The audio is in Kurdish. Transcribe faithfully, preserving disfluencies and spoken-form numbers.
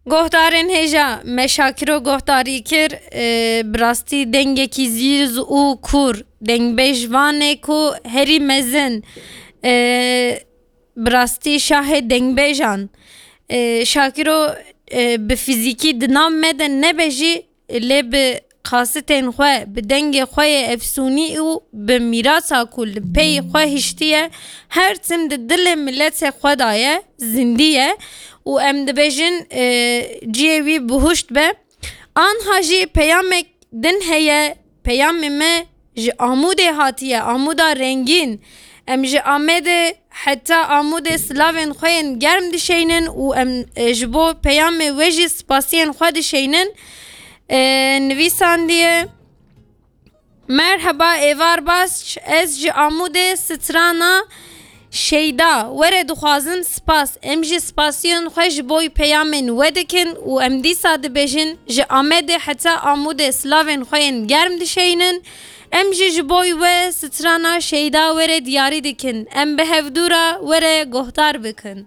Guhdarên hêja me Şakiro guhdarî kir, e, bi rastî dengekî zîz û kûr, dengbêj vanê ku herî mezin, e, bi rastî şahê dengbêjan. E, Şakiro, e, bi fîzîkî di nav me de nebe jî, lê bi qasitên xwe, bi dengê xwe yê efsûnî û bi mîrasa ku li pey xwe hiştiye, her tim di dilê miletê xwe de ye, zindî ye û em dibêjin, e, cihê wî bihuşt be. Anha jî peyamek din heye, peyamê me ji Amûdê hatiye, Amûda rengîn. Em ji Amedê heta Amûdê silavên xwe yên germ dişeynin û em, e, ji bo peyamê we jî spasiyên xwe dişeynin. E, nivîsandiye, Merheba Êvar Basç, ez ji Amûdê strana Şeyda were dixwazin spas. Em jî spasiyên xwe ji bo peyamên we dikin û em dîsa dibêjin, ji Amedê heta Amûdê silavên xwe yên germ dişeynin. Em jî ji bo we strana Şeyda were diyarî dikin. Em bi hevdû re were guhdar bikin.